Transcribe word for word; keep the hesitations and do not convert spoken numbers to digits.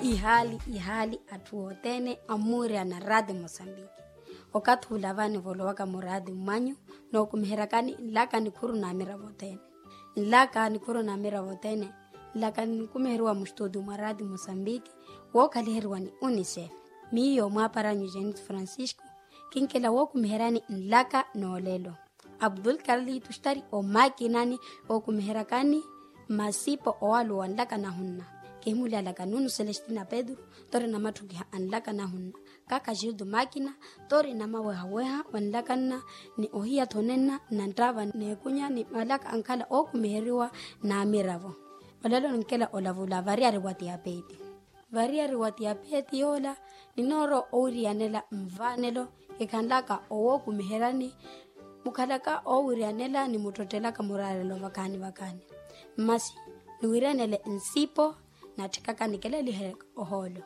Ihaali ihaali atthu othene ammuuriyana raati mosambiki. Okathi ula vaani volowaka muraati mmanyu nookumiheryakani nlaka nikhuru n'amiravo othene. Nlaka nikhuru n'amiravo othene. Nlaka ninkumiheriwa mustuutu mwa raati mosambiki wookhaliheriwa ni unicef. Miyo mwaaparanyu jenit francisco kinkela wookumiheryani nlaka n'olelo. Abdul karli tustari omakinani ookumiheryakani masipo owaluwa nlaka nahunna. Kihimulyalaka nunu celestina pedro tori namatthukiha a nlaka nahunna. Kaka jildo makina tori namawehaweha wa nlaka nna ni ohiya thonenna na nttaava n'ekunya ni malaka ankhala ookumiheriwa n'amiravo. Olelo ninkela olavula variyari wa tiyapeeti. Variyari wa tiyapeeti yoola ninoora owiriyanela nvaanelo kikhanlaka owookumiheryani. Mukhalaka oowiriyanela ni muttottelaka muraarelo vakaani vakaani. Mmasi niwiriyanele nsipo natthikaka nikelelihe ohoolo.